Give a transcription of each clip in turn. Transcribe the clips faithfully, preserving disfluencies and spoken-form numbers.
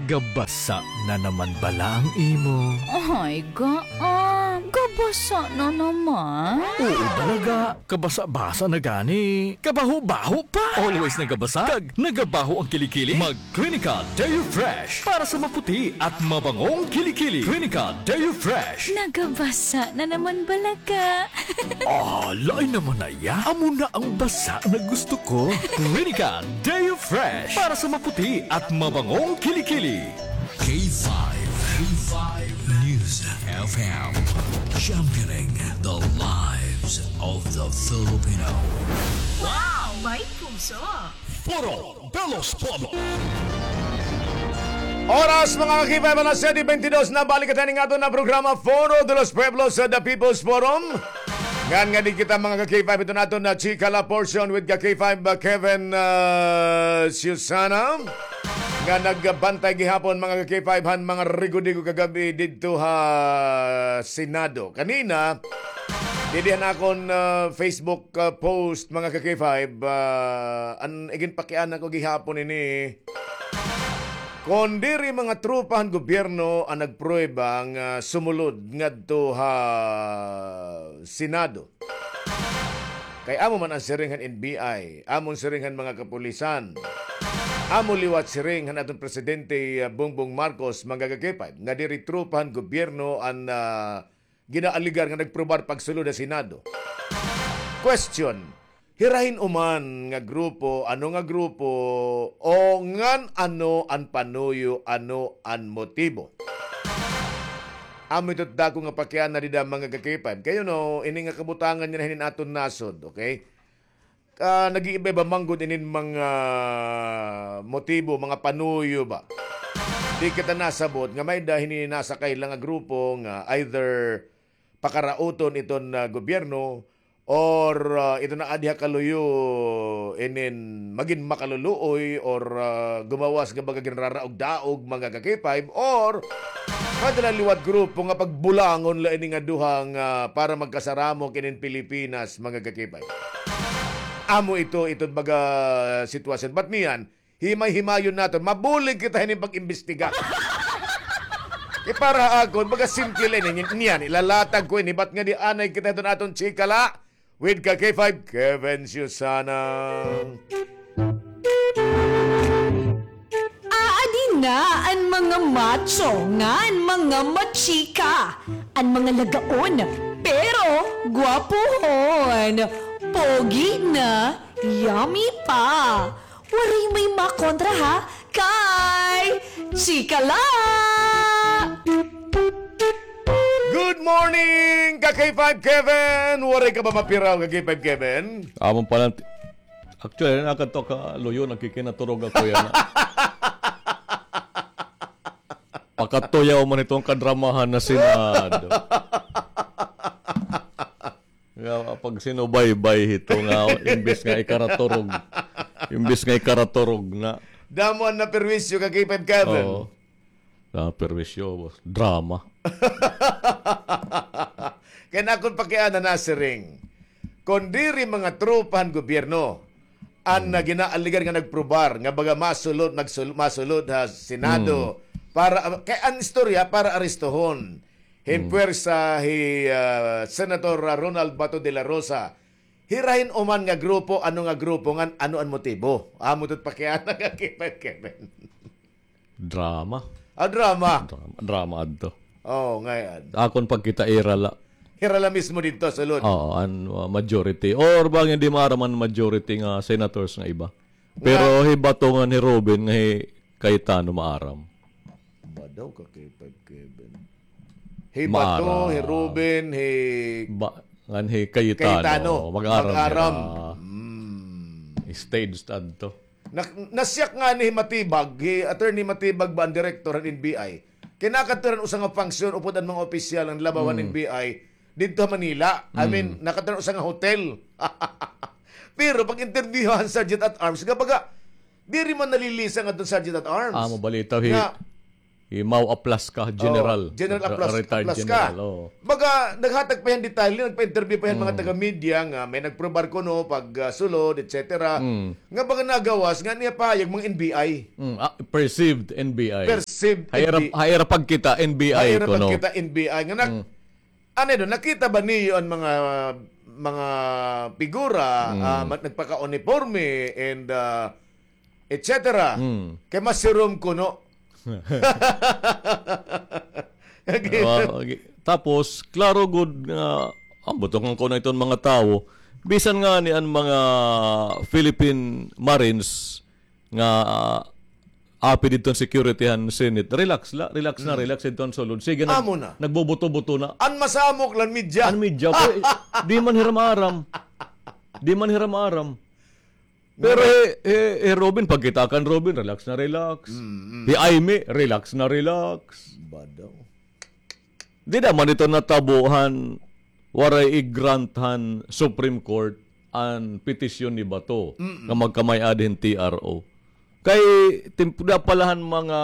Gabasa na naman bala ang imo? Ay, ga, ah, gabasa na naman? Oo, balaga. Kabasa-basa na gani. Kabaho-baho pa. Always nagabasa. Kag nagabaho ang kilikili. Mag Clinica Deo Fresh para sa maputi at mabangong kilikili. Clinica Deo Fresh. Nagabasa na naman bala ka. Ah, lain naman na iya. Amo na ang basa na gusto ko. Clinica Deo Fresh para sa maputi at mabangong kilikili. K five, K five News F M, championing the lives of the Filipino. Wow! May puso! Foro de los Pueblos. Oras, mga ka-K five, alas siyete bentidós na. Balik kita ning aton na programa, Foro de los Pueblos, sa The People's Forum. Ngan nga di kita, mga ka-K five, ito naton na chika la portion with ka-K five, uh, Kevin, uh, Susana, nga nagbantay gihapon, mga ka-K five, han mga rigo-digo kagab-i didto ha Senado. Kanina, didi han akon, uh, Facebook, uh, post, mga ka-K five, uh, an iginpakiana ko gihapon ini, kon diri mga tropa han gobyerno an nagprueba nga sumulod ngadto ha Senado. Kay amo man an siring han N B I, amo an siring han mga kapulisan, amo liwat siring han aton presidente, ah, Bongbong Marcos, mga ka-K five, nga diri tropa han gobyerno an, ah, ginaaligar nga nagprubar pagsulod ha Senado. Question, hira hin-o man nga grupo, ano nga grupo, o ngan ano an panuyo, ano an motibo? Amo ito dako nga pakiana dida, mga ka-K five. Kay, you know, ini nga kabutangan yana hinin aton nasod, okay? Ah, nag-iiba-iba man gud inin mga motibo, mga panuyo ba. Di kita nasabot nga may-ada hini nasa kaila nga grupo nga either pakarauton iton, ah, gobyerno or, ah, ito na adi ha kaluyo inin magin makaluluoy or, ah, gumawas nga baga ginraraog-daog, mga ka-K five, or may-ada la liwat grupo nga pagbulangon la ini nga duha nga para magkasaramok inin Pilipinas, mga ka-K five. Amo ito, ito baga sitwasyon. But niyan, himay-himayon naton. Mabulig kita hinin pag-imbestiga. Kay para ha akon, baga simple la ini. Niyan, ilalatag ko ini. But ngadi anay kita hiton aton chika la with ka-K five, Kevin Susana. Aadi na an mga macho ngan mga machika, an mga lagaon, pero gwapohon, pogi na, yummy pa. Waray may makontra ha kay Chika La! Good morning, ka-K five Kevin! Waray ka ba mapiraw, ka-K five Kevin? Amon pa lang, actually, nakadto ka luyo, nagkikinaturog ako yana. Pakatuyaw man itong kadramahan na Senado. Nga, pag sinubaybay hito nga, imbis nga ikaraturog, imbis nga ikaraturog na. Damo an naperwisyo, ka-K five Kevin. Oo. Naperwisyo, boss. Drama. Kay an akon pakiana nasiring, kon diri mga tropa han gobyerno an, hmm, ginaaligar nga nagprobar nga baga masulod, nagsul-, masulod ha Senado, hmm, para, kay an istorya para arestohon hin, hmm, puwersa hi, ah, Senator, ah, Ronald Bato de la Rosa. Hira hin-o man nga grupo, ano nga grupo, ngan ano an motibo? Amo ito it pakiana, ka-K five Kevin. Drama. Ah, drama. Drama, drama adto. Oo, ngay-an. Akon pagkita, ira la. Ira la mismo didto, sulod. Oo, an, uh, majority. Or bangin di maaram an majority nga senators nga iba. Pero hi Bato ngan hi Robin ngan hi Cayetano maaram. Ba daw, ka-K five Kevin? Hi Bato, maaram, hi Robin, hi, ba, ngan hi Cayetano. Cayetano. Mag-aram, mag-aram hira. Hmm. Staged adto. Na-, nasiyak ngani hi Matibag, hi Attorney Matibag ba an direktor han N B I? Kay nakadto hira han usa nga function upod an mga opisyal han labaw han, hmm, N B I didto ha Manila. I mean, hmm, nakadto hira han usa nga hotel. Pero pag-interview han Sergeant at Arms, nga baga, diri man nalilisa ngadto han Sergeant at Arms. Ah, mabalitaw hi, nga, Hi Mau Aplasca, General. Oh, General Aplas-, retired Aplasca. General, oh. Baga, naghatag pa hiya hin detalye, nagpa-interview pa hiya hin mga taga-media nga may nagprobar kuno pag, ah, sulod, et cetera. Mm. Nga baga nagawas, nga niya pahayag mga N B I. Mm, ah, perceived N B I. Perceived N B I. Ha ira pagkita, N B I kuno. Ha ira pagkita, N B I. Nga nag-, ano do, nakita ba niyo an mga, mga figura, ah, nagpaka-uniporme and, ah, et cetera. Mm. Kay masirom kuno. Okay. Tapos, klaro gud nga, ah, butongan ko na iton mga tawo. Bisan ngani an mga Philippine Marines nga, ah, api didto an security han Senate, relax la, relax na, relax didto han sulod. Sige na, nagbubuto-buto na. An masamok la an media. An media, pero, eh, di man hira maaram. Di man hira maaram. Pero, eh, eh, eh, Robin, pagkita kan Robin, relax na relax. Mm, mm. Hi Aimee, relax na relax. Ba daw? Dida man ito natabo han waray i-grant han Supreme Court an petisyon ni Bato nga magkamay-ada hin T R O. Kay timp-, da pala han mga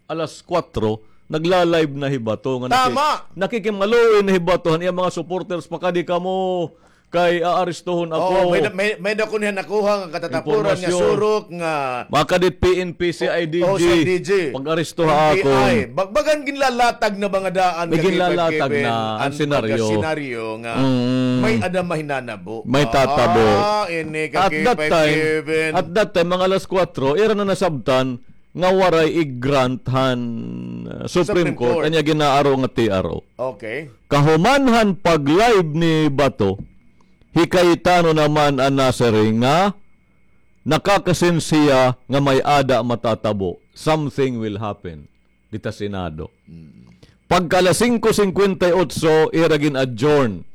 alas kuwatro, nagla-live na hi Bato nga naki-, nakikimaluoy na hi Bato han iya mga supporters, "Pakadi kamo kay aarestuhon ako." Oo, may da-, may, may da kuno hiya nakuha nga katatapuran nga surok nga makadi it P N P, C I D G. Oo, C I D G. Pag-arestuha ako. N P I. Bag-, bagan ginlalatag na ba nga daan, may ginlalatag na an senaryo. Senaryo nga may-ada mahinanabo. May tatabo. Ah, ini ka K five Kevin. At that time, mga alas kuwatro, ira na nasabtan nga waray i-grant han, uh, Supreme Court an iya ginaaro nga T R O. Okay. Kahuman han pag-live ni Bato, hi Cayetano naman an nasiring nga nakaka-sense hiya nga may-ada matatabo. Something will happen dita Senado. Mm. Pagka alas singko singkwenta y otso, ira gin-adjourn.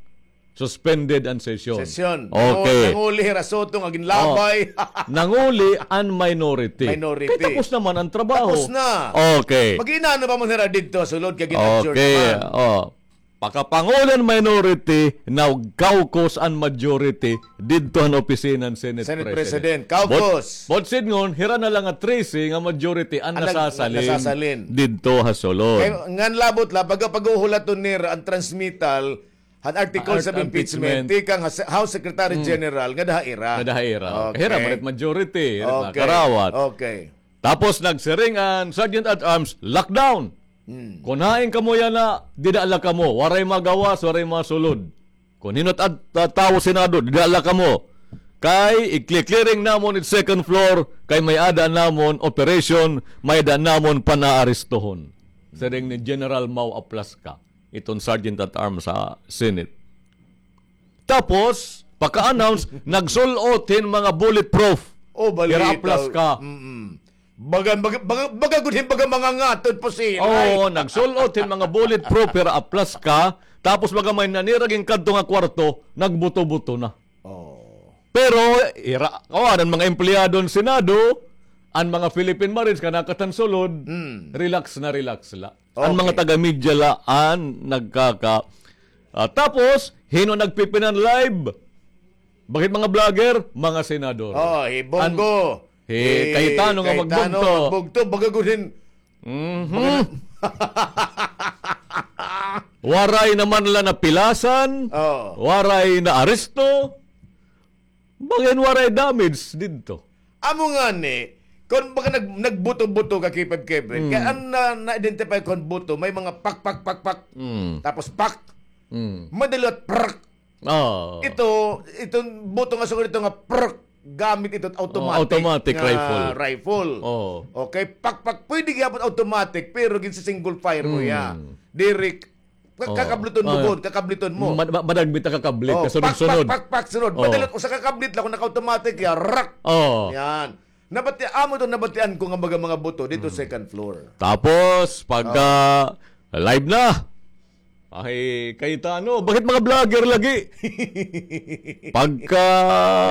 Suspended an sesyon. Sesyon. Okay. Nanguli hira Soto nga ginlabay. Oh. Nanguli an minority. Minority. Kay tapos naman an trabaho. Tapos na. Okay. Mag-inano pa man hira didto, sulod kay gin-adjourn naman. Okay. Oh. Pakapanguli an minority, nag-caucus an majority didto han opisina han Senate President. Senate President. Caucus. But, but sidngon, hira na la nga trese nga majority an nasasalin didto ha sulod. Kay ngan labot la, baga pag-uhulaton nira an transmittal, han articles of impeachment, tikang ha se-, House Secretary General, nga daha ira. Nga daha ira. Okay. Hira man it majority, hira it mga karawat. Okay. Tapos nagsiring an Sergeant at Arms, "Lockdown. Hmm. Kon hain kamo yana, dida la kamo. Waray magawas, waray masulod. Kon hin-o it ad-, ta-, tawo Senado, dida la kamo. Kay i-clearing namon it second floor, kay may-ada namon operation, may-ada namon panaarestohon." Siring ni General Mau Aplasca, iton Sergeant at Arms sa Senate. Tapos, pagka-announce, nagsul-ot hin mga bulletproof. Oh, balita. Hira Aplasca. Mm-mm. Baga, baga, baga, baga gud hin baga mga ngatod po si Inay. Oo, nagsul-ot hin mga bulletproof, hira Aplasca. Tapos baga may nanira ginkadto nga kwarto, nagbuto-buto na. Oh. Pero, ira, oh, an mga empleyado han Senado, an mga Philippine Marines, kanakatan sulod, relax na relax la. An mga taga-media la an nagkaka-, ah, tapos, hin-o nagpipinan live? Bakit mga vlogger? Mga senador. Oh, hi Bong Go. Hi Cayetano nga magbugto. Cayetano magbugto, baga gud hin. Mhm. Waray naman la napilasan. Oh. Waray naaresto. Baga hin waray damage didto. Amo ngani, kon baga nag-, nagbuto-buto ka, K five Kevin, kay an na, na-identify kon buto, may mga pak, pak, pak, pak. Mm. Tapos pak. Mm. Madali, prak. Oh. Ito, iton buto nga sugad ito nga prak, gamit ito automatic. Oh, automatic nga rifle. Rifle. Oh. Okay, pak, pak, pwede gyapon automatic, pero ginsi-single fire mo ya. Diri Ka-, kakabliton mo gud, kakabliton mo. Ma-, ma-, madagmit na kakablit, kasunod-sunod. Pak, pak, pak, pak, sunod. Madali, usa ka kablit la, kon naka-automatic ya, rak! Oh. Yan. Nabati-, amo to, nabatian ko nga mga, mga buto dito second floor. Tapos, pagka live na, ay, Cayetano, bakit mga vlogger lagi? Pagka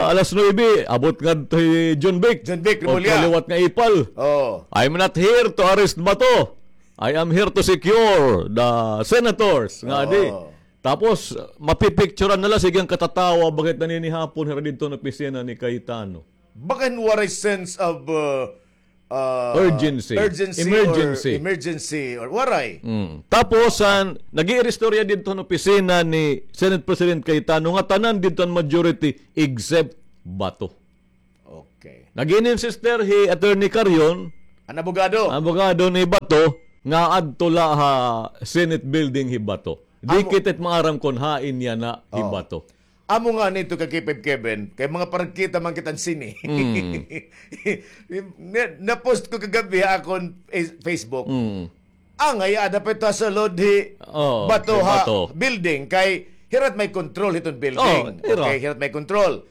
alas nuebe, abot ngadto hi John Vic. John Vic Remulla. Pagkaliwat nga ipal. Oh. "I'm not here to arrest Bato. I am here to secure the senators," nga di. Oo. Tapos, mapipicturan na la, sige an katatawa, bakit naninihapon hira didto han opisina ni Cayetano. Baga hin waray sense of, uh, ah, urgency. Urgency or emergency. Emergency or waray. Mm. Tapos, ah, nag-iiristorya didto han opisina ni Senate President Cayetano nga tanan didto an majority except Bato. Okay. Nag-iinsiste hi Attorney Carion, an abogado, abogado ni Bato, nga adto la ha Senate Building hi Bato. Di kita it maaram kon hain yana hi Bato. Amo ngani ito ka K five Kevin, kay mga paragkita man kita hin sini. Mm. Na-, na-post ko kagab-i ha akon Face-, Facebook. Mm. Angay ada pa ito ha sulod hi Bato ha building, kay hira it may control hiton building. Oh, hira. Okay, hira it may control.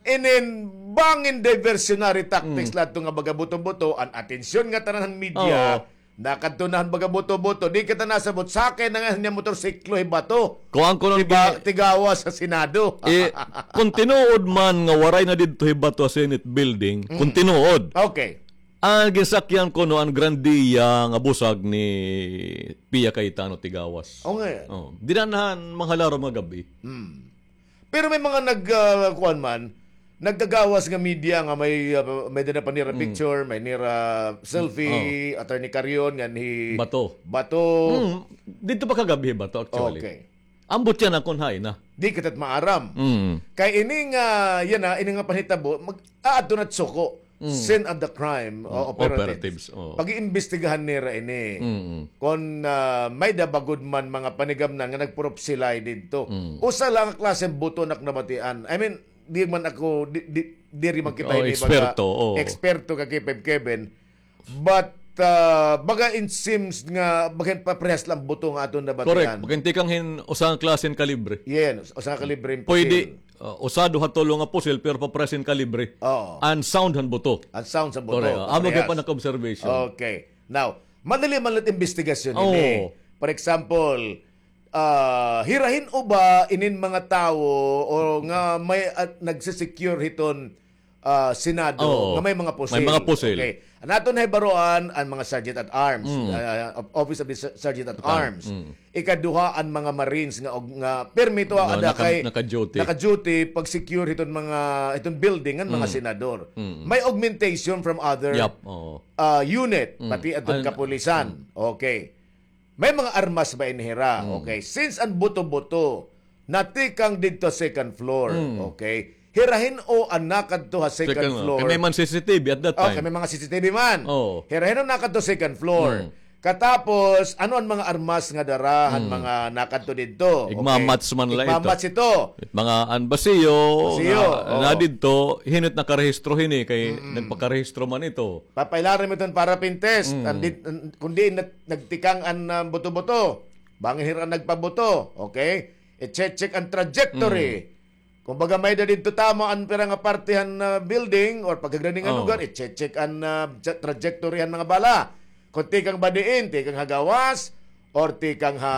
Inin bangin diversionary tactics la adto nga baga buto-buto, an atensyon nga tanan han media, nakadto na han baga buto-buto, di kita nasabot, sakay na nga niya motorsiklo hi Bato. Kuan kuno, tigawas sa Senado. Eh, kon tinuod man nga waray na didto hi Bato ha Senate Building, kon tinuod. Okay. An ginsakyan kuno an grandiya nga busag ni Pia Cayetano tigawas. O nga. Oh, dida na han mga halarom nga gab-i. Hmm. Pero may mga nag, ah, kuan man, nagkagawas nga media nga may, ah, may dida pa nira picture, may nira selfie, Attorney Carion, ngan hi Bato. Bato. Mm, didto pa kagab-i hi Bato, actually. Okay. Ambot yana kon hain na. Di kita maaram. Mm. Kay ini nga, yana, ini nga panhitabo, mag-, aadto na suko. Mm. Scene of the crime, o, operatives. Operatives, o. Pag-iimbestigahan nira ini. Mm. Kon, ah, may-ada ba gud man mga panigamnan nga nagpurupsilay didto. Mm. Usa la nga klase hin buto an ak nabatian. I mean, di man ako, di, di, diri man kita ini baga eksperto, o, eksperto ka K five Kevin. But, ah, baga it seems nga, baga paparehas la an buto nga aton nabatian. Correct. Baga tikang hin usa nga klase hin kalibre. Yes, usa nga kalibre hin pusil. Pwede, ah, usa, duha, tulo nga pusil, pero paparehas hin kalibre. Oo. An sound han buto. An sound han buto. Correct. Amo gihapon ak observation. Okay. Now, madali man la it imbestigasyon ini. Oo. For example, ah, hira hin-o ba inin mga tawo o nga may, ah, nagsisecure hiton, ah, Senado nga may mga pusil. May mga pusil. Okay. An aton nahibaroan, an mga sergeant at arms, ah, Office of the Ser-, Sergeant at Arms. Mm. Ikaduha, an mga Marines nga og, nga permi to ada kay naka-duty, naka-duty pag-secure hiton mga, hiton building ngan mga senador. Mm. May augmentation from other, ah, unit, pati adton kapulisan. Okay. May mga armas ba ini hira? Mm. Okay. Since an buto-buto natikang didto second floor, okay. Hira hin-o an nakadto ha second floor? Kay may man C C T V at that time. Okay, may mga C C T V man. Oo. Hira hin-o nakadto second floor? Mm. Katapos, ano an mga armas nga dara han mga nakadto didto? Okay. Igmamatch man la ito. Igmamatch ito. Mga an basiyo, basiyo, na, na didto, hin-o it nakarehistro hini, kay nagpakarehistro man ito. Papailarom iton para pin test. Mm. An di-, an, kon diin nagtikang an, ah, buto-buto. Bangin hira nagpabuto. Okay? I-check-check an trajectory. Mm. Kumbaga, may-ada didto tama an pira nga parte han, ah, building or pagkagrading nga lugar, i-check-check an, ah, tra-, trajectory han mga bala. Kon tikang ba diin, tikang ha gawas, or tikang ha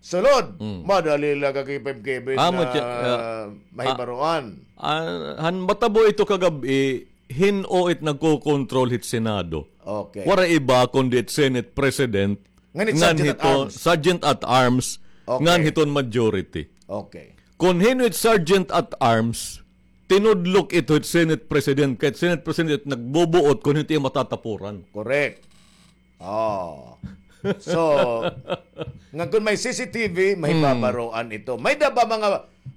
sulod. Mm. Madali la ka K five Kevin na mahibaroan. Ah, han matabo ito kagab-i, hin-o it nagkokontrol hit Senado. Okay. Waray iba kundi it Senate President, ngan hiton Sergeant at Arms, ngan hiton majority. Okay. Kon hin-o it Sergeant at Arms, tinudlok ito hit Senate President, kay it Senate President nagbubuot kon hin-o it iya matatapuran. Correct. Oh. So, nga kon may C C T V, mahibabaroan ito. May-ada ba mga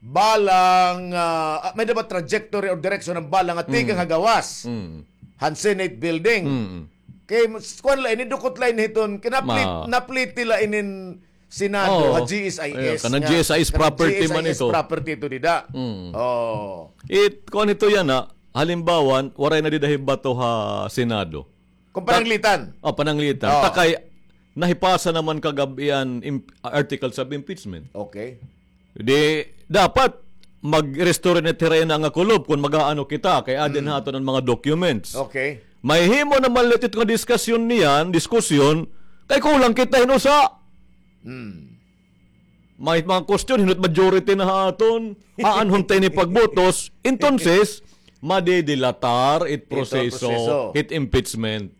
bala nga, ah, may-ada ba trajectory or direksyon han bala nga tikang ha gawas han Senate building? Mm. Kay, kuan la ini, dukot la ini hiton, kay naplit-, napliti la inin Senado ha G S I S. Kanan G S I S property man ito. Property ito dida. Mm. Oh. It, kuan ito yana, halimbawa, waray na dida hi Bato ha Senado. Kon pananglitan. Oh, pananglitan. Oh. Ta kay nahipasa naman kagab-i an im-, articles of impeachment. Okay. Di, dapat mag-restore na it hira yana nga kulop kon mag-aano kita, kay adi na ha aton an mga documents. Okay. Mahihimo naman la ito nga diskasyon niyan, diskusyon, kay kulang kita hin usa. Mm. May mga question, hin-o it majority na ha aton, aanhon ta ini pagbutos, entonces, madidilatar it proseso, hit impeachment.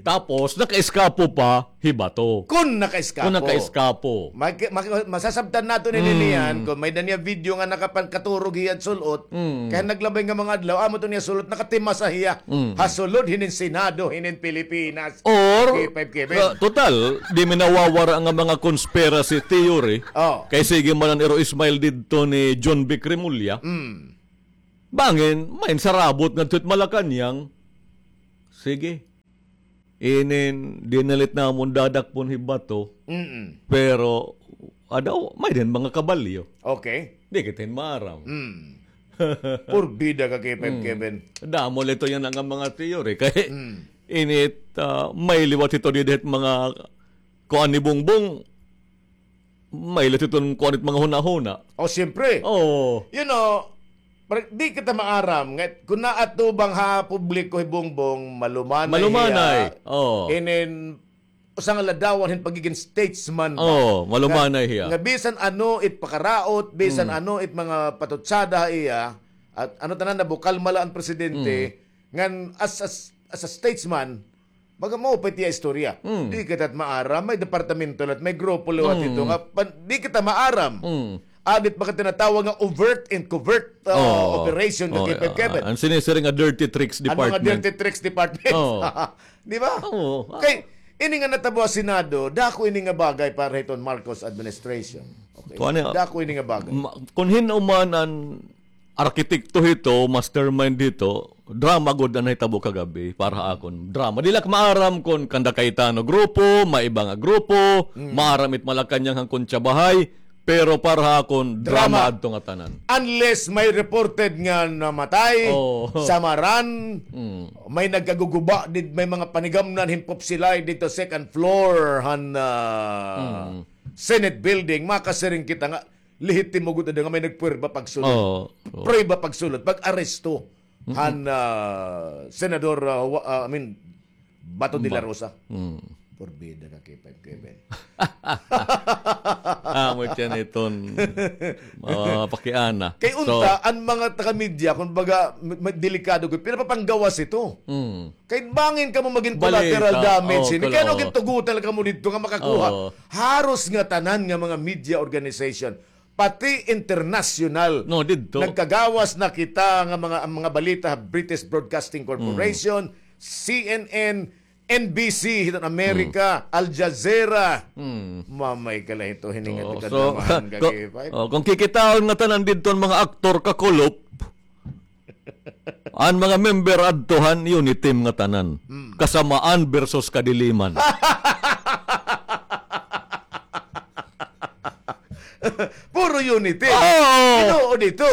Tapos, nakaiskapo pa hi Bato. Kun nakaiskapo. Kun nakaiskapo. Maki-, maki-, masasabtan naton ini niyan kun may-ada niya video nga nakapankaturog hiya sul-ot. Kay naglabay nga mga adlaw, amo to niya sul-ot, nakatimasa hiya ha sulod hinin Senado, hinin Pilipinas. Or, K five Kevin. Ah, total, di mi nawawara nga mga conspiracy theory. Oh. Kay sige man an Iro Ismail didto ni John Vic Remulla. Bangin, may sarabot ngadto hit Malacañang. Sige. Inin, dinalit namon dadakpon hi Bato. Mm-mm. Pero, adaw, may din mga kabalyo. Okay. Di kita hin maaram. Mm. Purbida ka, K five Kevin. Damo la ito yana nga mga theory. Kay, init, ah, may liwat ito didit mga kuan ni Bongbong. May la ito kuan it mga hunahuna. Oh, siyempre. Oo. You know, Pre, di kita maaram nga kun naatubang ha publiko hi Bongbong, malumanay hiya. Malumanay. Oo. Inin, usa nga ladawan hin pagiging statesman ba? Oo, malumanay hiya. Nga, nga bisan ano it pakaraot, bisan ano it mga patutsada ha iya, at ano tanan, nabukalma la an presidente, ngan as, as, as a statesman, baga mao pa it iya istorya. Di kita maaram, may departamento la, may grupo liwat ito nga, pan-, di kita maaram. Adit mga tinatawag nga overt and covert, uh, operation nga K five Kevin. An sinisiring nga dirty tricks department. An mga dirty tricks department. Oo. Di ba? Oo. Kay, ini nga natabo ha Senado, dako ini nga bagay para hiton Marcos administration. Okay? Dako ini nga bagay. Ma-, kun hin-o man an arkitekto hito, mastermind hito, drama gud an nahitabo kagab-i para ha akon. Drama. Di la ak maaram kon kanda Cayetano grupo, may iba nga grupo, maaram it Malacañang han Concha Bahay, pero para ha akon, drama adto nga tanan. Unless may reported nga namatay, samaran, may nagkaguguba, did-, may mga panigamnan hin popsilay didto second floor han, ah, Senate building, makasiring kita nga, lehitimo gud nga may nagpwerba pagsulod. Oo, oo. Pwerba pagsulod, pag-aresto han, ah, Senador, ah, wa-, ah, I mean, Bato de la Rosa. Purbida ka, K five Kevin. Amo tiyan iton, ah, pakiana. Kay unta, an mga taga-media, kumbaga, ma-, delikado gud, pinapapanggawas ito. Kay bangin kamo magin collateral damage ini. Kay ano, gintugutan la kamo didto nga makakuha. Haros nga tanan nga mga media organization, pati internasyonal. No, didto. Nagkagawas na kita nga mga, ang mga balita, British Broadcasting Corporation, C N N, N B C hiton Amerika, Al Jazeera. Mamay ka la hito, hiningat ka naman, kung kikitaon nga tanan didto an mga aktor kakulop, an mga member adto han Uniteam nga tanan. Kasamaan versus kadiliman. Puro Uniteam. Oo. Tinuod ito.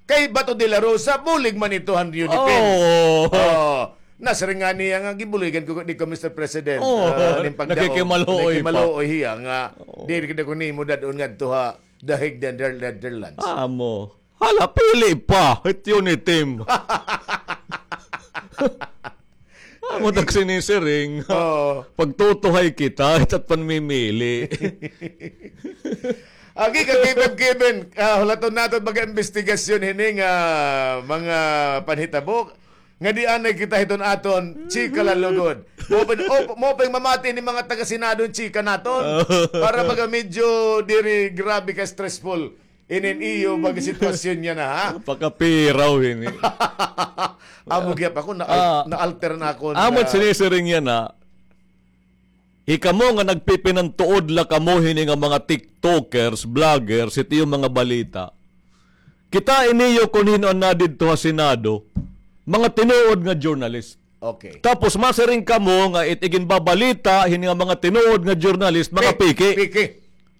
Kay Bato de la Rosa, bulig man ito han Uniteam. Oo. Oo. Nasiring ngani hiya nga gibuligan ko ni ko, Mister President. Oo. Ah, nin pagdao, nakikimaluoy pa. Nakikimaluoy hiya nga, oo, diri kita ko nimo dad-on ngadto ha The Hague, Nether-, Netherlands. Amo. Hala, pili pa, it Uniteam. Amo tag sinisiring. Oo. Pagtutuhay kita, it at panmimili. Agi ka, K five Kevin, ah, hulaton naton mga investigasyon hini nga mga panhitabo. Nga di anay kita hiton aton chika la lugod. Mo pa, o, mo pa mamati ni mga taga-Senado hin chika naton. Para baga medyo diri grabe ka stressful. Inin iyo baga sitwasyon niya na, ha? Pakapiraw ini. Amo gihap ako, na-, ah, na-alter na ako. Amo na sinisiring niya na, hikamo nga nagpipinantuod la kamo hini nga mga TikTokers, vloggers, hit iyo mga balita. Kitai niyo kon hin-o an nadidto ha Senado, mga tinuod nga journalist. Okay. Tapos masiring kamo nga it iginbabalita hini nga mga tinuod nga journalist, mga peke. Peke.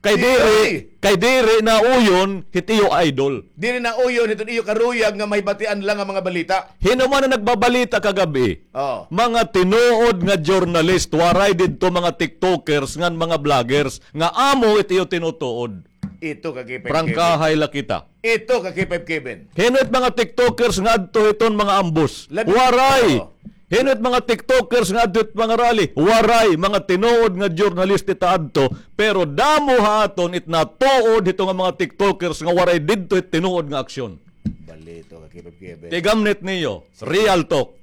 Kay diri, kay diri nauyon hit iyo idol. Diri nauyon hiton iyo karuyag nga mahibatian la nga mga balita. Hin-o man an nagbabalita kagab-i? Oo. Mga tinuod nga journalist, waray didto mga TikTokers ngan mga vloggers nga amo it iyo tinutuod. Ito ka K five Kevin. Prangkahay la kita. Ito ka K five Kevin. Hin-o it mga TikTokers nga adto hiton mga ambos? Waray. Oo. Hin-o it mga TikTokers nga adto hit mga rally? Waray. Mga tinuod nga journalist ita adto. Pero damo ha aton it natuod hito nga mga TikTokers nga waray didto hit tinuod nga aksyon. Balito ka, K five Kevin. Tigamnit niyo. Real talk.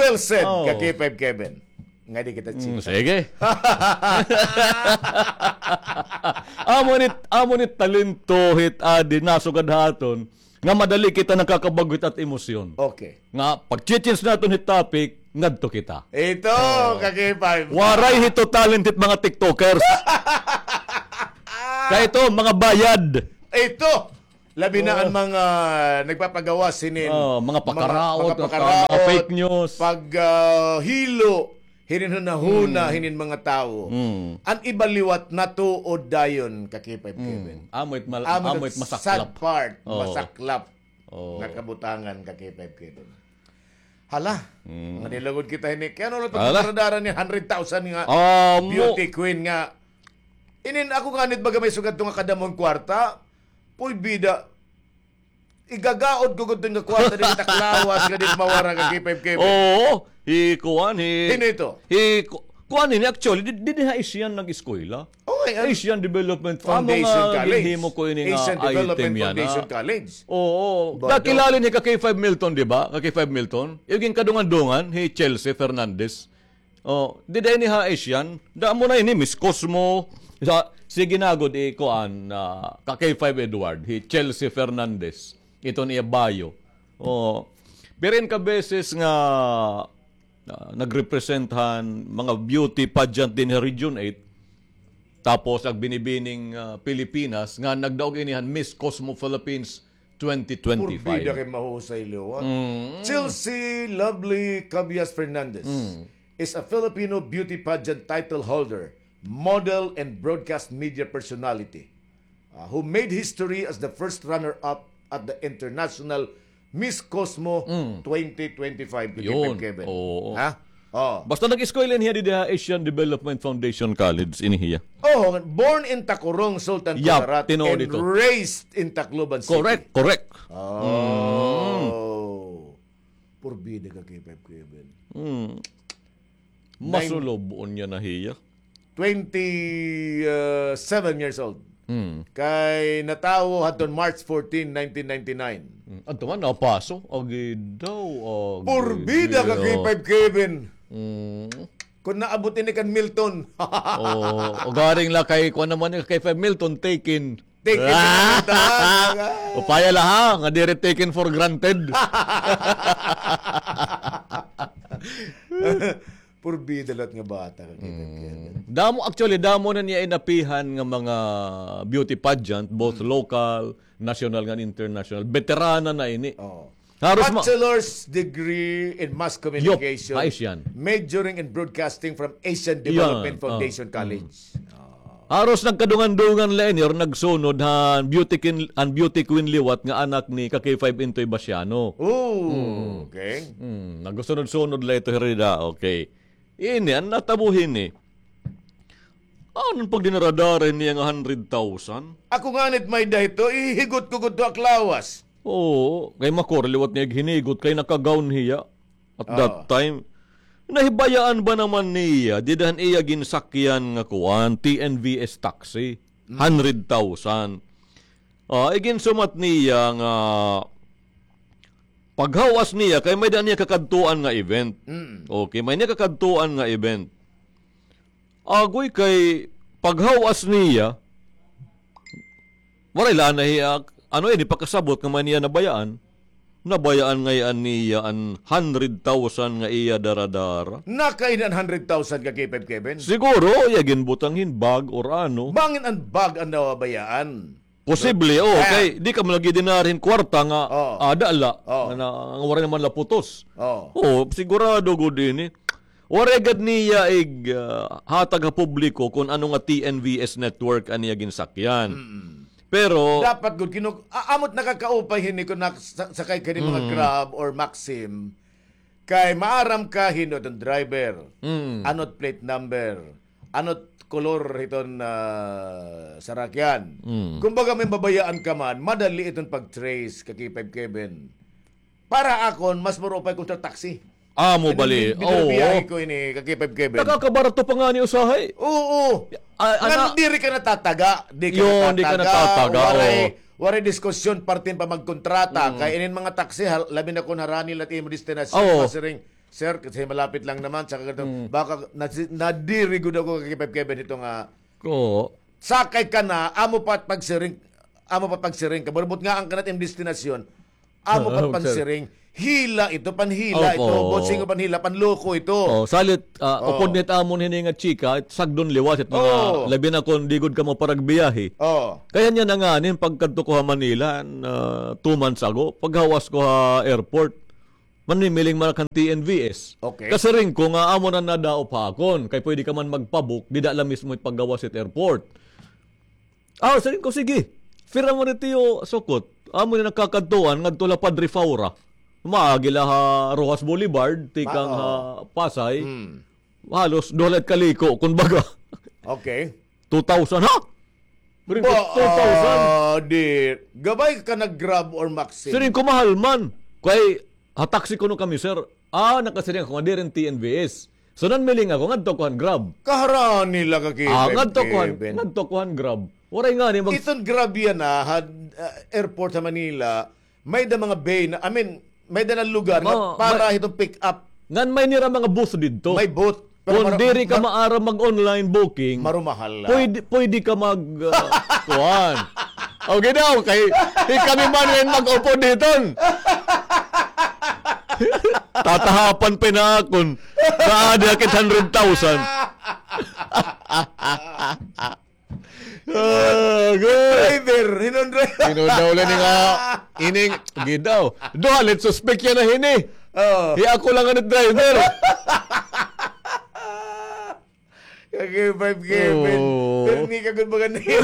Well said, ka K five Kevin. Nga di kita chika. Sige. Amo ni, amo ni talento hit adi nasugad ha aton nga madali kita nakakabag-o hit at emosyon. Okay. Nga pag-change naton hit topic, ngadto kita. Ito, ka K five. Waray hito talent hit mga TikTokers. Kay ito, mga bayad. Ito, labi na an mga nagpapagawas hinin, mga pakaraot, mga pakaraot, mga fake news, pag, ah, hilo hinin hunahuna hinin mga tawo. An iba liwat natuod dayon, ka K five Kevin. Amo it mal-, amo it masaklap. Sad part, masaklap nga kabutangan, ka K five Kevin. Hala, nga nilugod kita hini. Kay ano la to, hala, pagdara-dara ni hundred thousand nga beauty queen nga. Inin ako nga nit baga may sugad to nga kadamon kwarta. Puy bida. Igagaod ko gud to nga kwarta din taklawas nga di mawara, ka K five Kevin. Oo, hi kuan, hi, hino ito? Hi ku-, kuan ini actually, di, di, di ha Asian nag-eskwela. Asian Development Foundation College. Amo nga ginhimo ko ini nga item yana. Asian Development Foundation College. Oo. Nakilala ni ka K five Milton, di ba? Ka K five Milton. Yung kadungan-dungan, hi Chelsea Fernandez. Oh, dida ini ha Asian. Damo na ini, Miss Cosmo. Sa, sige na gud, i kuan, ah, ka K five Edward, hi Chelsea Fernandez. Ito niya bio. Oh, pero in ka beses nga ah, nagrepresent han mga beauty pageant din ha Region eight. Tapos, nagbinibining, ah, Pilipinas, nga nagdaog ini han Miss Cosmo Philippines twenty twenty-five. Purbida kay mahusay liwat. Chelsea Lovely Cabias Fernandez is a Filipino beauty pageant title holder, model, and broadcast media personality, ah, who made history as the first runner-up at the International Miss Cosmo twenty twenty-five, K P F Kevin. Ha? Oh. Basta nag-eskwela niya didi ha Asian Development Foundation College, ini hiya. Oh, born in Tacurong, Sultan Kudarat, and raised in Tacloban City. Correct, correct. Oh. Purbida ka, K P F Kevin. Masulob-on niya na hiya. Twenty-seven years old. Kay natawo hadton March fourteen, nineteen ninety-nine. Adto man, napaso. Agi daw, agi. Purbida ka, K five Kevin. Kung naabot ini kan Milton. Oh, ugaring la kay, kuan naman ni K five Milton, taken. Taken. Upaya la ha, nga diri taken for granted. Purbida liwat nga bata ka, Kevin. Damo, actually, damo na niya inapihan nga mga beauty pageant, both local, national, ngan international. Beterana na ini. Haros ma- Bachelor's degree in Mass Communication, majoring in Broadcasting from Asian Development Foundation College. Haros nagkadungan-dungan la ini or nagsunod han beauty queen, an beauty queen liwat nga anak ni ka K five Intoy Basiano. Oh, okay. Nagsunod-sunod la ito, hirida. Okay. Ini, an natabo hini. Ano an pagdinara-dara niya nga hundred thousand? Ako nganit may-ada hito, ihigot ko gud to ak lawas. Oo, kay makuri liwat niya hinigot kay naka-gown hiya at that time. Nahibayaan ba naman niya, dida han iya ginsakyan nga kuan, T N V S taxi, hundred thousand. Ah, iginsumat niya nga paghawas niya, kay may-ada niya kakadtuan nga event. Okay, may niya kakadtuan nga event. Agoy, kay paghawas niya, waray la na hiya, ano ini, pakasabot nga may niya nabayaan. Nabayaan ngay-an niya an hundred thousand nga iya dara-dara. Nakain an hundred thousand ka K five Kevin? Siguro, iya ginbutang hin bag or ano. Bangin an bag an nabayaan. Posible, oo, kay di ka man lagi dinara hin kwarta nga ada la, nga na, nga waray naman la putos. Oo, sigurado gud ini. Waray gad niya ig, ah, hatag ha publiko kon ano nga T N V S network an iya ginsakyan. Pero dapat gud kinu-, a-, amo't nakakaupay hini kon nak-, sa-, sakay ka hin mga Grab or Maxim, kay maaram ka hin-o iton driver, ano't plate number, ano't kolor hiton, ah, sarakyan. Kumbaga, may mabayaan ka man, madali iton pag-trace, ka K five Kevin. Para akon, mas maupay kon taxi. Amo bali. Binabiyahe ko ini, ka K five Kevin. Nakakabarato pa ngani usahay. Oo. Ngan diri ka natataga, di ka natataga, waray, waray diskusyon parte pa magkontrata. Kay inin mga taxi, labi na kon harani la it imo destinasyon, masiring, Sir, kasi malapit lang naman, saka ganito, baka nasi-, nadiri gud ako kay Five Kevin ito nga, oo, sakay ka na, amo pa pagsiring, amo pa pagsiring ka. Burbot nga an kanat im destinasyon, amo pa pagsiring. Hila ito, panhila ito, bossing, panhila, panloko ito. Oh, salit, ah, upod nit amon hini nga chika, sagdon liwat it mga, labi na kon di gud kamo paragbiyahe. Oh. Kay niyan na ngani pagkadto ko ha Manila, ah, two months ago, paghawas ko ha airport, manimiling man ak han T N V S. Okay. Kasiring ko nga amo na nadaop ha akon, kay pwede ka man magpabook, dida la mismo it paggawas it airport. Ah, siring ko, sige. Pira man it iyo sukot? Amo na nakakadtuan, ngadto la Padre Faura. Maagi la ha Roxas Boulevard, tikang ha Pasay. Halos duha la it kaliko, kun baga. Okay. Two thousand, ha? Ba, two thousand? Ah, di, gabay ka nag-Grab or Maxim? Siring ko, mahal man. Kay, ha taxi kuno kami, sir. Ah, nakasiring ako nga diri T N V S. So, nanmiling ako, ngadto ko han Grab. Kaharani la ka, ah, ngadto ko han, ngadto ko han Grab. Waray ngani mag- Iton Grab yana, ha, ah, airport sa Manila, may da mga bay na, I mean, may da na lugar nga para hiton pick up. Ngan may nira mga booth didto. May booth. Pero kon diri ka maaram mag-online booking, marumahal la. Pwede, pwede ka mag, ah, kuan. Okay daw, kay, kay kami man ngayon mag-upod hiton. Tatahapan pa na akon. Naada kit hundred thousand. Ah, good. Driver, hinon driver. Hinon daw la ini nga, ining, gidaw. Duha la it suspek yana hini. Oh. Hi ako la ngani driver. Kaki five Kevin. Oh. Pero ni ka gud mga niyo.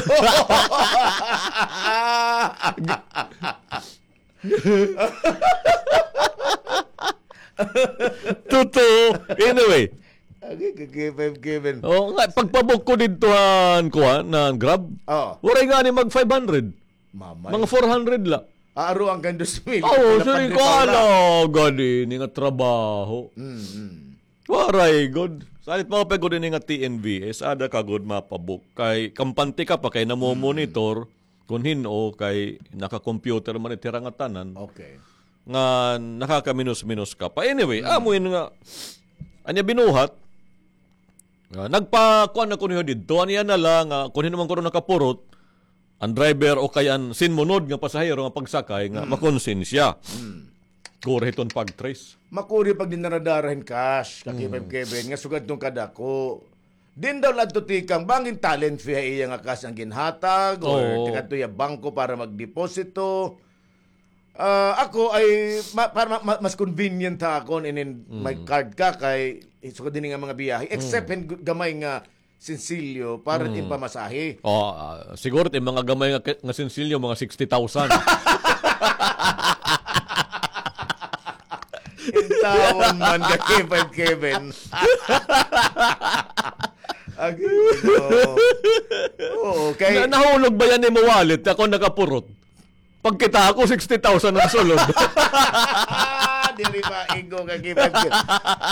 Totoo. Anyway. Okay, kaki five Kevin. Oo nga, pagpabook ko didto han kuan, han Grab. Oo. Waray ngani mag five hundred. Mamay. Mga four hundred la. Aaruan kan dos mil. Oo, siring ko, ala, gani ini nga trabaho. Mm, mm. Waray gud. Salit mao pa gud ini nga T N V S, ada ka gud mapabook. Kay kampante ka pa kay namomonitor. Kon hin-o kay naka-computer man it hira nga tanan. Okay. Nga nakakaminos-minos ka pa. Anyway, amo ini nga, anya binuhat, ah, nagpakuan ako niyo didto. Anya na la nga, kon hin-o man kuno nakapurot, an driver o kay an sinmunod nga pasahero nga pagsakay nga makonsensya. Kuri hiton pag-trace. Makuri pag dinara-dara hin cash, kaki five Kevin, nga sugad ton kadako. Din daw la adto tikang bangin talent fee ha iya nga cash an ginhatag or tikadto iya bangko para magdeposito. Ah, ako ay ma-, para ma-, ma-, mas convenient ha akon inin may card ka kay sugad dinhi nga mga biyahe. Except hin gu-, gamay nga sinsilyo para it im pamasahe. Oh, ah, siguro it im mga gamay nga, nga sinsilyo, mga sixty thousand. Intawon man ka, K five Kevin. Agi, oo. Oo, kay na-, nahulog ba yan imo wallet? Ako nakapurot. Pagkita ko, sixty thousand an sulod. Diri ba, igo ka, K five Kevin.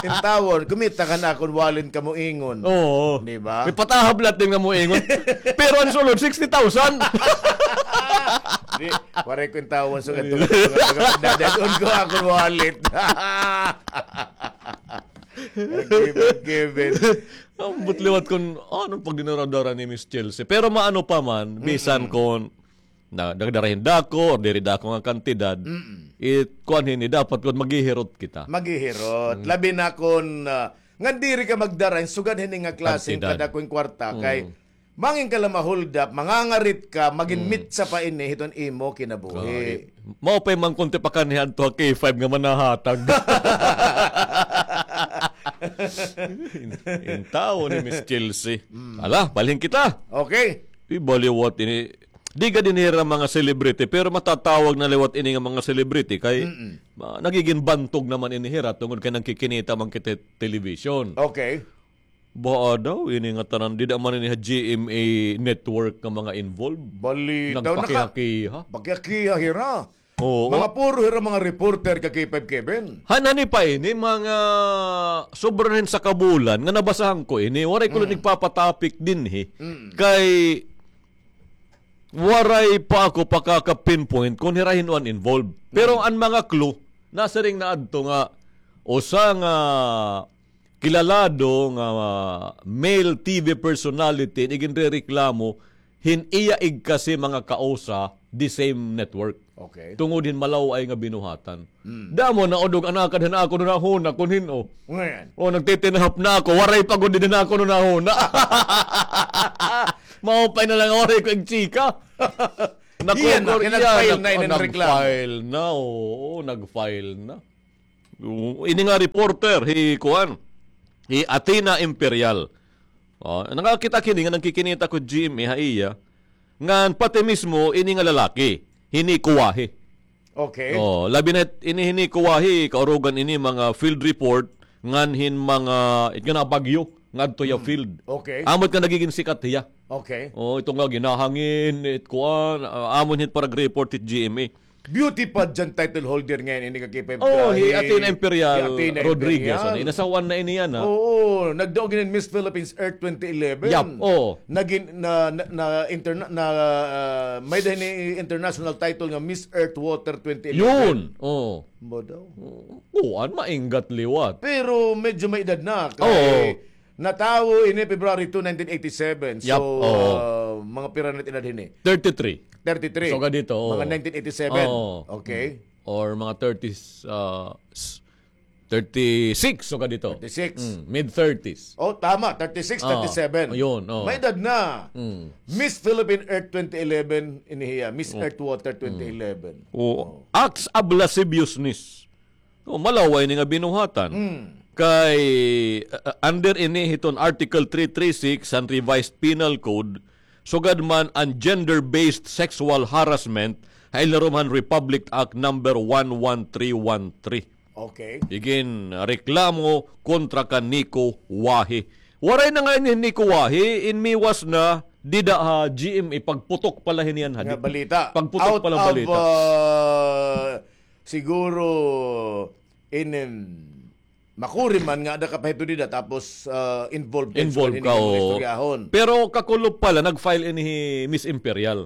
Intawon, kumita ka na akon wallet kamo ingon. Oo. Di ba? May patahablat din nga mo ingon. Pero an sulod, sixty thousand. Di, waray ko intawon, so, kadto, kadto, kadto, dadadon ko akon wallet. Kevin, Kevin. Ambot liwat kon ano pag dinara-dara ni Miss Chelsea. Pero maano pa man, bisan kon na, nagdara hin dako or diri dako nga kantidad, it kuan hini, dapat kon maghihirot kita. Maghihirot. Labi na kon, ah, nga diri ka magdara hin sugad hini nga klase hin kadako hin kwarta kay mangin ka la ma-hold up, mangangarit ka, magin mitsa pa ini hiton imo kinabuhi. Mao pa'y mangkunti pa kaniha adto ha K five nga manahatag. In-, intawo ni Miss Chelsea. Ala, balhin kita. Okay. Di ba liwat ini, di gad ini hira mga celebrity, pero matatawag na liwat ini nga mga celebrity kay ma-, nagigin bantog naman ini hira tungod kay nagkikinita man kita television. Okay. Baa daw ini nga tanan, dida man ini ha G M A network nga mga involved. Bali daw, nagpakihakiha. Pakihakiha hira. Oo. Mga puro hira mga reporter ka K five Kevin. Hanani pa ini, mga sobra hin saka bulan nga nabasahan ko ini, waray ko la nagpapatopic dinhi. Kay waray pa ako pakaka-pinpoint kon hira hin-o an involved. Pero an mga clue, nasiring na adto nga Usa nga kilalado nga male T V personality an iginrereklamo hin iya igkasi mga kausa the same network. Okay. Tungod hin malaw-ay nga binuhatan. Hmm. Damo na udog anakad han akon hunahuna kun hin-o. Ngan. O, nagtitinahap na ako, waray pa gud dinhi an akon hunahuna. Maupay na lang waray ko igchika. Iya na, kay nag-file na ini nga reklamo. Nag-file na, oo, nag-file na. Oo, ini nga reporter, hi kuan, hi Athena Imperial. O, nakakita ak hini nga nagkikinita ko G M A ha iya. Ngan pati mismo ini nga lalaki, hi Nico Wahi. Okay. O, labi na ini hi Nico Wahi, kaurugan ini mga field report, ngan hin mga, it nga bagyo, ngadto ha field. Okay. Amo it nga nagigin sikat hiya. Okay. O, ito nga ginahangin, it kuan, ah, amo hit pag-report hit G M A. Beauty pageant title holder ngayon ini ka K five. Oh, hi Athena Imperial Rodriguez, ano, inasawan na ini yana. Oo, nagdaog ini Miss Philippines Earth twenty eleven. Yap, oo. Nagin-, na, na, na interna-, na, ah, may-ada hini international title nga Miss Earth Water twenty eleven. Yun, oo. Ba daw? Kuan, mainggat liwat. Pero medyo may edad na. Oo. Kay natawo ini February two, nineteen eighty-seven. Yap, oo. So, ah, mga pira na it edad hini? Thirty-three. Thirty-three. So, ganito, oo. Mga nineteen eighty-seven. Oo. Okay. Or mga thirties, ah, s-, thirty-six, so ganito. Thirty-six. Mm, mid thirties. Oh, tama. Thirty-six, oo, thirty-seven. Ayun, oo. May edad na. Mm. Miss Philippine Earth twenty eleven, ini hiya. Miss Earth Water twenty eleven. Oo. Oo. Acts of lasciviousness. O, malaw-ay ini nga binuhatan. Mm. Kay, uh, under ini hiton Article three three six han Revised Penal Code, sugad man an gender-based sexual harassment, ha ilarom han Republic Act number one one three one three. Okay. Iginreklamo kontra kan Nico Wahi. Waray na nga ini Nico Wahi, in miwas na dida ha G M A, pagputok pala hini yana, ha? Nga balita. Pagputok pala balita. Out of, uh, siguro, in, in, makuri man nga ada ka pa hito dida, tapos, ah, involved ka. Involved ka, oo. Istoryahon. Pero kakulop pala, nag-file ini hi Miss Imperial.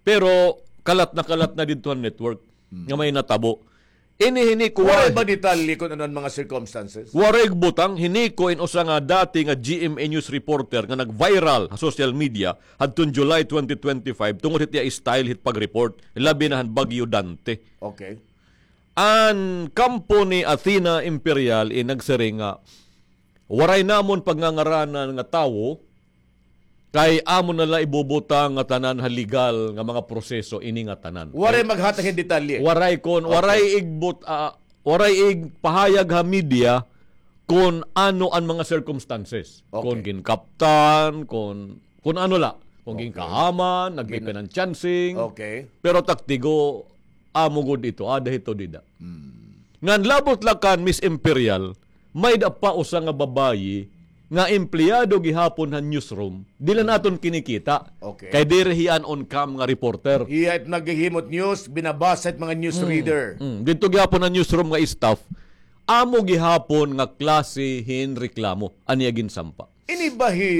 Pero kalat na kalat na didto han network nga may natabo. Ini hi Nico Wahi. Waray ba detalye kung ano an mga circumstances? Waray butang. Hi Nico in usa nga dati nga G M A news reporter nga nag-viral ha social media hadton July twenty twenty-five tungod hit iya style hit pag-report, labi na han Bagyo Dante. Okay. An kampo ni Athena Imperial in nagsiring nga, waray namon pagngangaranan nga tawo, kay amon na la ibubutang ngatanan ha legal nga mga proseso ini ngatanan. Waray maghatag hin detalye. Waray kon, okay, waray igbut-, ah, waray igpahayag ha media kon ano an mga circumstances. Okay. Kon ginkaptan, kon, kon ano la, kon, okay, ginkahaman, nagpipinanchancing. Okay. Pero taktigo, amo gud ito, ada hito dida. Hmm. Ngan labot la kan Miss Imperial, may-ada pa usa nga babayi nga empleyado gihapon han newsroom, diri la naton kinikita. Okay. Kay diri hiya an on-cam nga reporter. Hiya it naghihimo hit news, binabasa hit mga news reader. Mm. Didto gihapon han newsroom nga staff, amo gihapon nga klase hin reklamo an iya ginsampa. Ini ba hi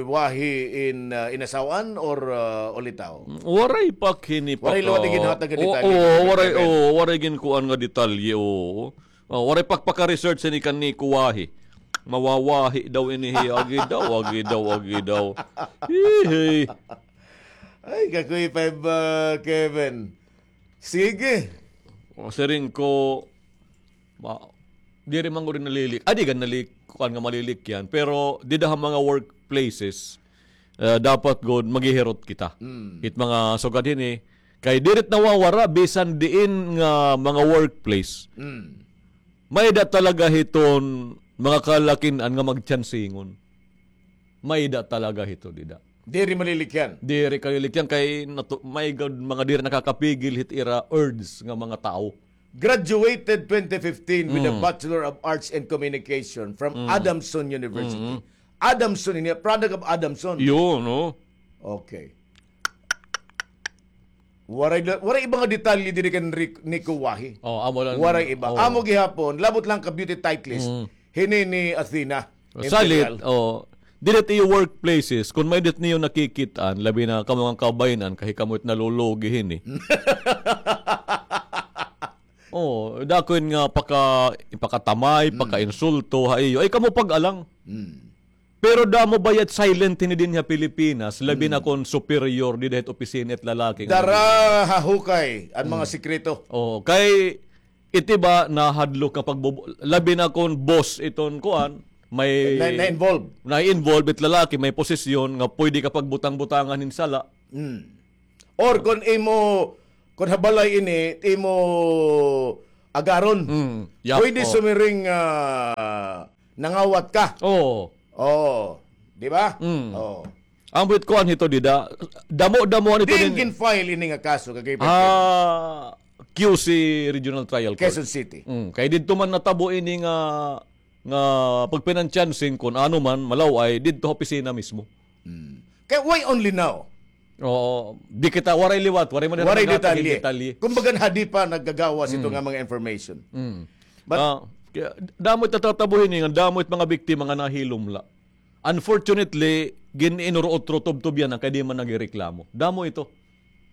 Wahi in, ah, inasaw-an or, ah, ulitaw? Waray pa hini pa. Waray liwat iginhatag nga detalye. Oo, waray, oo, waray ginkuan nga detalye, oo. Oh, waray pa paka-research ini kan Nico Wahi. Mawawahi daw ini hi, agi daw, agi daw, agi daw. Hihi. Ay, kakuy five, ah, Kevin. Sige. O, siring ko, Ma-, diri man gud nalilik-, ah, di gud nalik-, kuan nga malilikyan, pero dida ha mga workplaces, ah, dapat gud maghihirot kita. Mm. It mga sugad hini, kay diri it nawawara, bisan diin nga mga workplace. Mm. May-ada talaga hiton mga kalakin-an nga magtsansingon. May-ada talaga hito dida. Diri malilikyan. Diri kalilikyan kay natu-, may gad mga diri nakakapigil hit ira urge nga mga tawo. Graduated twenty fifteen with a Bachelor of Arts in Communication from Adamson University. Mm. Adamson, ini, product of Adamson. Yun, no? Okay. Waray da-, waray iba nga detalye diri kan Rick-, Nico Wahi. Oh, amo lang. Waray iba. Oh. Amo gihapon, labot lang ka beauty titlist. Mm. Hini ni Athena. Salit, Imperial. Oh, diri it iyo workplaces, kun may-ada it niyo nakikit-an, labi na kamo nga kababayen-an, kay kamo it nalulugi hini. Oh, dako nga paka-, pakatamay, pakainsulto ha iyo. Ay, kamo pag-alang. Pero damo bayat silent hini dinhi ha Pilipinas, labi na kon superior dida hit opisina it lalaki nga dara ha hukay an mga sikreto. Oh, kay iti ba nahadlok nga pagbubo-, labi na kon boss iton kuan, may na-involve. Na-involve it lalaki, may posisyon nga pwede ka pagbutang-butangan hin sala. Or kon imo, kon ha balay ini, imo agaron. Pwede sumiring, ah, nangawat ka. Oo. Oo. Di ba? Oo. Ambot kuan hito dida. Damo-damohan ito. Diin gin-file ini nga kaso, kay Q C Regional Trial Court. Quezon City. Kay didto man natabo ini nga nga pagpinanchancing, kun ano man, malaw-ay, didto ha opisina mismo. Kay why only now? Oo, di kita, waray liwat, waray man waray detalye. Kumbaga, hadi pa naggagawas ito nga mga information. But ah, kaya, damo it natatabo hini, nga damo it mga biktima nga nahilom la. Unfortunately, gin-inuro-utro tubtob yana kay di man nagreklamo. Damo ito.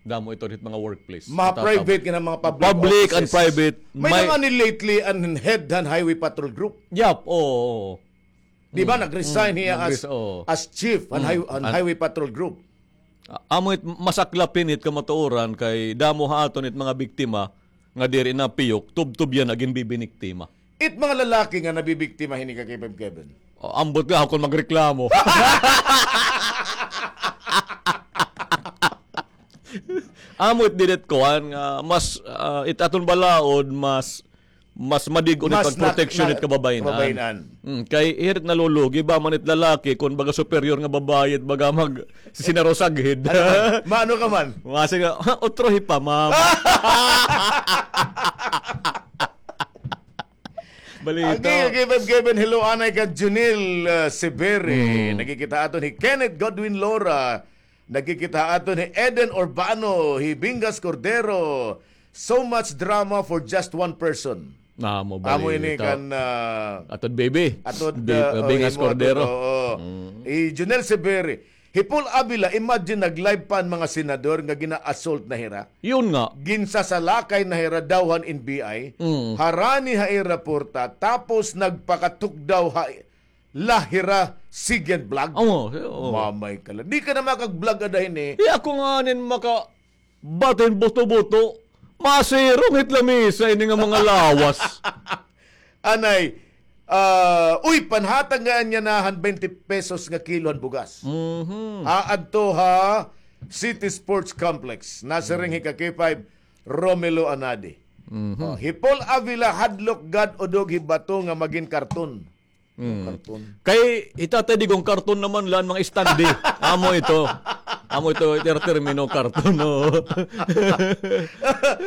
Damo ito hit mga workplace. Mga private nga mga public offices. Public and private. May nangani lately an head han Highway Patrol Group. Yap, oo, oo. Di ba, nag-resign hiya as chief han Highway Patrol Group. Amo it masaklap hini it kamatuoran kay damo ha aton it mga biktima nga diri na piyok, tubtob yana ginbibiniktima. It mga lalaki nga nabibiktima hini, ka K five Kevin. O, ambot nga ako magreklamo. Amo it diri it kuan nga mas, ah, it aton balaod mas, mas madig-on it pagproteksyon it kababayen-an. Kababayen-an. Mm, kay hiri it nalulugi ba man it lalaki kon baga superior nga babaye it baga mag-, sisinaro saghid. Ano man? Maano ka man? Masi nga, "Ha, utro hi pa, ma'am." Balita. Agi, agi, Beb Kevin, hello, anay kan Junil, uh, Severi. Nagkikita aton hi Kenneth Godwin Lora. Nagkikita aton hi Eden Urbano, hi Bingas Cordero. So much drama for just one person. Amo ini kan, uh, atod baby. Atod, uh, Bingas Cordero. Oo. Hi Junel Severi. Hi Paul Avila, imagine, nag-live pa an mga senador nga gina-assault na hira. Yun nga. Ginsasalakay na hira daw han N B I. Harani ha ira porta, tapos nagpakatukdaw ha la hira sigen vlog. Oo, oo. Mamay ka la. Di ka na makag-vlog ada hini. Di ako nga nin maka- Batin buto-buto, masirong hit lamisa ini nga mga lawas. Anay, ah, uy, panhatag nga niya na han twenty pesos nga kilo han bugas. Aadto ha City Sports Complex. Nasiring hi ka K five, Romelo Anadi. Oh, hi Paul Avila, hadlok gad udog hi bato nga magin karton. Karton. Kay hi Tatay Digong, karton naman la an mga estande. Amo ito. Amo ito, ito termino karton, no?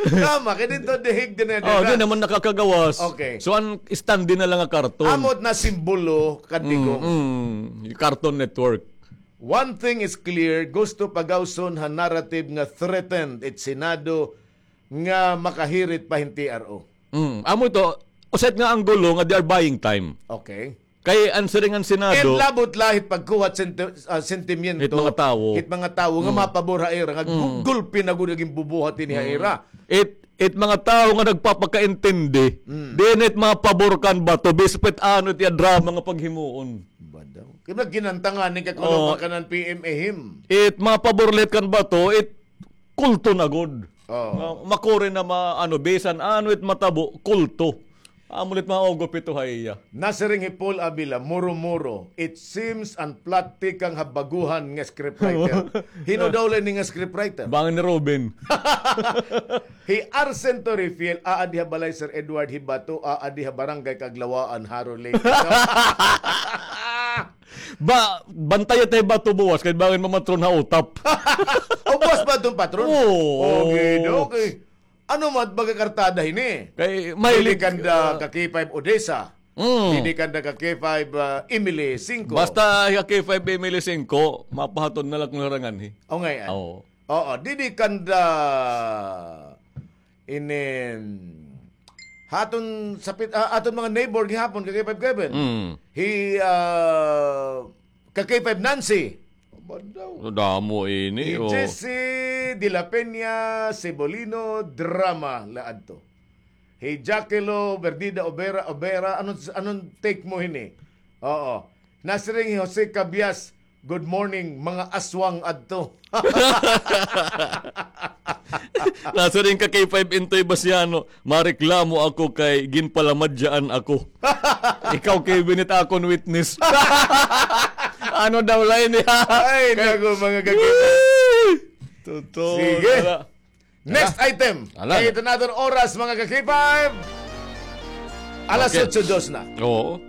Tama, kay didto dihig din. Oh, di naman nakakagawas. Okay. So, an estande na la nga karton. Amo it nasimbolo kan Digong. Mm, mm. Cartoon Network. One thing is clear, gusto pagawson han narrative nga threatened it Senado nga makahirit pa hin T R O. Mm, amo ito, usa it nga anggulo nga they are buying time. Okay. Kay an siring han Senado, and labot la hit pagkuha senti-, ah, sentimiento hit mga tawo. Hit mga tawo nga mapabor ha ira, nga gu-, gulpi na gud an ginbubuhat ini ha ira. It, it mga tawo nga nagpapakaintindi, din it mapabor kan bato, bisan pa it ano it iya drama nga paghimuon. Ba daw? Kay ginantangan ni kakuno pa kanan P M A him. It mapabor la hit kan bato, it kulto na gud. Oo. Ma-, makuri na ma-, ano, bisan ano it matabo, kulto. Amo la it maugop ito ha iya. Nasiring hi Paul Avila, muro-muro, it seems an plot tikang ha baguhan nga scriptwriter. Hin-o daw la ini nga scriptwriter? Bangin ni Ruben. Hi Arsen Torrefiel, aadi ha balay Sir Edward, hi bato, aadi ha barangay Kaglawaan, Jaro Lake. Ba, bantaya ta hi bato buwas kay bangin mamatron ha utap. O, buwas ba iton patron? Oo. Okay, okay. Ano man baga kartada hini? Kay mahilig, didi kanda, ah, ka K five Odessa. Mm. Didi kanda ka K five, ah, Emily Cinco. Basta ka K five Emily Cinco, mapahatod na la kon harangan hi. O, ngay-an. Oo. Oo, didi kanda inin, ha aton sapit, ah, aton mga neighbor gihapon, ka K five Kevin. Mm. Hi, ah, ka K five Nancy. Ba daw? Damo ini, hi, oh. Jessie de la Peña, Cebolino, drama la adto. Hi Jackilo Berdida Obera, Obera, anong, anong take mo hini? Oo. Nasiring hi Jose Cabias, "Good morning, mga aswang adto." Nasiring ka kay Five Intoy Basiano, "Mareklamo ako kay ginpalamadyaan ako." Ikaw, Kevin, it akon witness. Ano daw lain niya? Ay, naku, mga kakita. Totoo. Sige. Next item. Ala. Kay it naton oras, mga ka-K five. Alas otso dos na. Oo.